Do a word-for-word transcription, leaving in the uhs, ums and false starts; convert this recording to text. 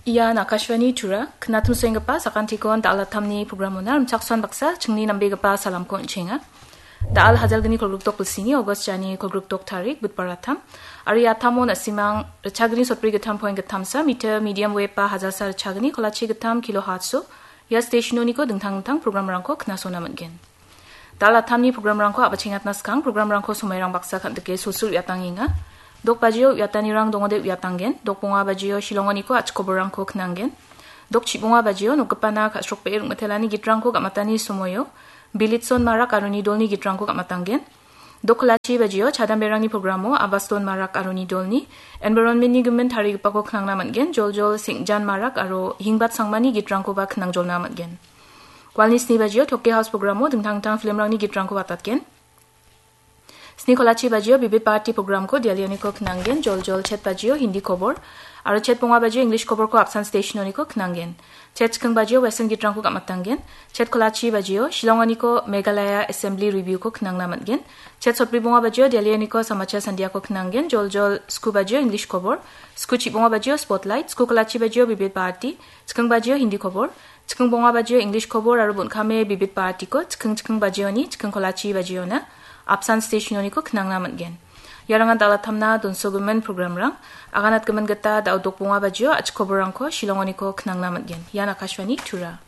Ian Akashvani Tura, knatumsoenggipa sakantikon da·al attamni programona rimchaksoan baksa chingni nambegipa salamko on·chenga. Da·al hajalgni kolgrikdok bilsini August jani kolgrikdok tarik Budbar attam. Aro ia attamo na·simang ritchagni sotbri gittam point gittamsa meter medium wave ba hajalsa ritchagni kolachi gittam kilohertz-o ia stationoniko dingtang dingtang programrangko knasona man·gen. Da·al attamni programrangko a·bachengatna skang programrangko somairang baksa kan·dike sulsul uiatangenga. Dok bajio uiatanirang dongode uiatanggen. Dok bonga bajio Shillongoniko achikoborangko knanggen. Dok chibonga bajio nokgipana ka·srokbee rongmitelani gitrangko gam·atani somoio Bilitson Marak aro ni dolni gitrangko gam·atanggen. Dok kolachi bajio chadamberangni programo Abaston Marak aro ni dolni environmentni gimin tarigipako knangna man·gen. Joljol Sengjan Marak aro Hingbat Sangmani gitrangkoba knangjolna man·gen. Walni sni bajio Tokke House programo dingtang dingtang filmrangni gitrangko watatgen. Sni kolachi bajio Bibit Bharati programko Delhioniko knanggen, joljol chet bajio Hindi kobor, aro chet bonga bajio English koborko apsan stationoniko knanggen. Chet chiking bajio Western gitrangko gam·atanggen. Chet kolachi bajio Shillongoniko Meghalaya Assembly Reviewko knangna man·gen. Chet sotbri bonga bajio Delhioniko Samachar Sandiako knanggen, joljol sku bajio English kobor, sku chibonga bajio Spotlight, sku kolachi bajio Bibit Bharati, chiking bajio Hindi kobor, chiking bonga bajio English kobor aro bon·kame Bibit Bharatiko chiking chiking bajioni, chiking kolachi bajiona apsan stationoniko knangna man·gen. Iarangan da·al attamna donsogimin programrang, aganatgimin gita da·o dok bonga bajio achikoborangko Shillongoniko knangna man·gen. Ian Akashvani Tura.